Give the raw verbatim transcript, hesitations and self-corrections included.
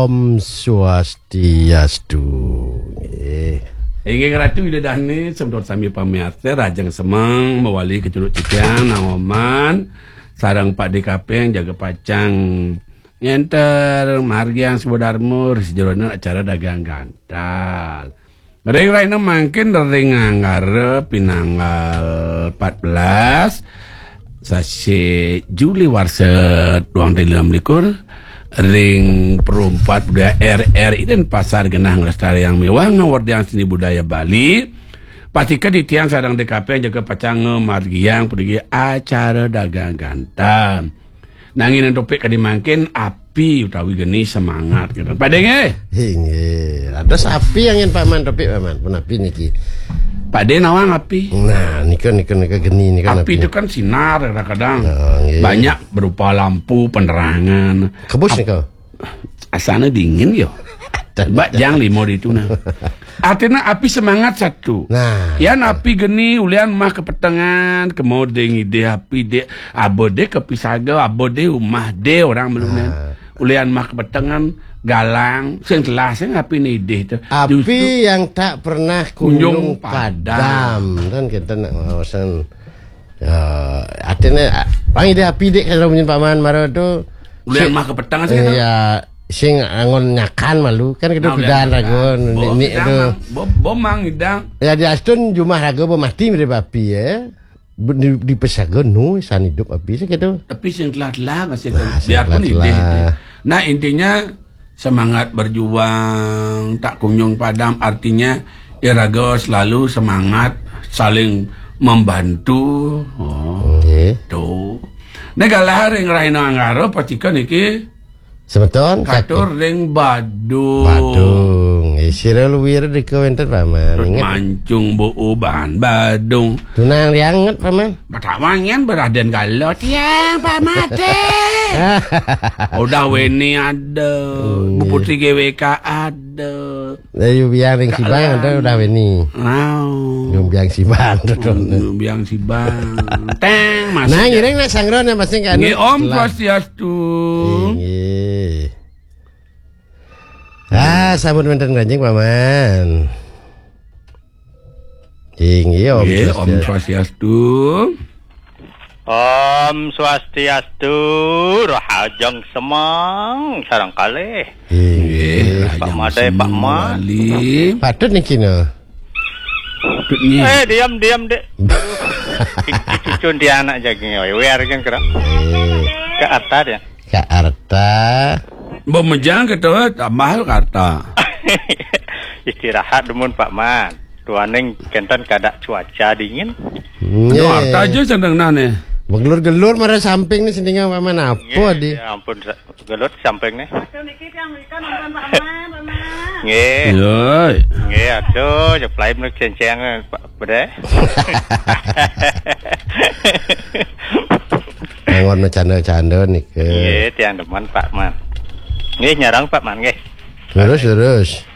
Om Swastiastu. Nggih. Inggih Ratu Ida Dane, semeton sami pamiarsa, rahajeng semeng mawali kecunduk titiang, naoman, sareng Pak D Kaping jaga pacang ngenter margiang Swadarma ring sajeroning acara dagang gantal. Ring rahina mangkin ring Anggara pinanggal empat belas, sasih Juli warsa duang tali enam likur, ring Perumpat Budaya R R I Denpasar genah nglestariang miwah ngawerdiang seni budaya Bali. Pastika titiang sareng D K P jaga pacang ngamargiang puniki acara dagang gantal. Nanging topik kadi mangkin, api utawi geni semangat, gitu. Pade nggih? Inggih. Dados api angin Paman topik Paman. Pun api niki. Pade nawang api. Nah, nika, nika, nika geni nika. Api itu kan sinar kadang-kadang. Oh, nggih. Banyak berupa lampu, penerangan. Kebus nika. Asana dingin yo. Bak jang lima di itu nah. Artinya api semangat satu. Nah. Yan api geni ulian mah kepetengan, kemode ngidih api dek, abode kepisaga, abode umah de orang belunan. Nah. Ulian mah kepetengan, galang, sing telah sing api nidih tu. Api yang tak pernah kunjung padam. Kan kita nak ngawasan. Ya, artinya, pang ide api dek kalau punya Paman Maro tu. Ulian mah kepetengan sih, kan? Ya, sing angon nyakan malu kan kita pidan raga ni tu. Bo, bo mang idang. Ya, di astun jumah raga bo mati mirip api ya. Di, di pesaga nu san hidup api sih gitu. Tapi sing telah-telah masih biarpun ide. Nah, intinya semangat berjuang tak kunjung padam, artinya iraga selalu semangat saling membantu. Oh, nggih. Tu. Nek galah ring rahina Anggara pastika niki semeton katur ring Badung. Badung. Eh, sira luwir dika wenten Paman. Ingat. Mancung buuban Badung. Tunang rianget Paman. Batawangan beraden gala tiang Pak Mate. Udah Weni ada, Bu Putri G W K ada. Ayo biang ring Sibang ada udah Weni. Wow. Nyumbiang Sibang tu. Nyumbiang Sibang. Teng, Mas. Nah, ngiring nak sangro nih masing kan. Nggih, Om Swastiastu. Nggih. Ah, sampun wenten ranjing Paman. Inggih, Om Swastiastu. Om Swastiastu, rahajeng semeng sareng kalih. Inggih, Pak Made, Pak Mat. Patut niki no. Patut niki. Eh, diam, diam, Dek. Aduh. Cucun dia anak jaging, oi. Wear kan kira. Eh. Ke atas ya. Ke arta. Mbok mejang kita tambah ke arta. Istirahat dumun Pak Man. Tuaning kenten kada cuaca dingin. Aduh, arta aja sandang nah nih. Begelur-gelur marah samping nih sendingan Pak Man apa di? Ya ampun, gelut samping nih. Aduh, niki tiang merikan nonton Pak Man, Pak Man. Nggih. Yoi. Nggih, aduh, jeplai mriki cenceng Pak Bedeh. Anggon canda-canda nika. Nggih, tiang demen Pak Man. Nggih, nyarang Pak Man nggih. Terus, terus.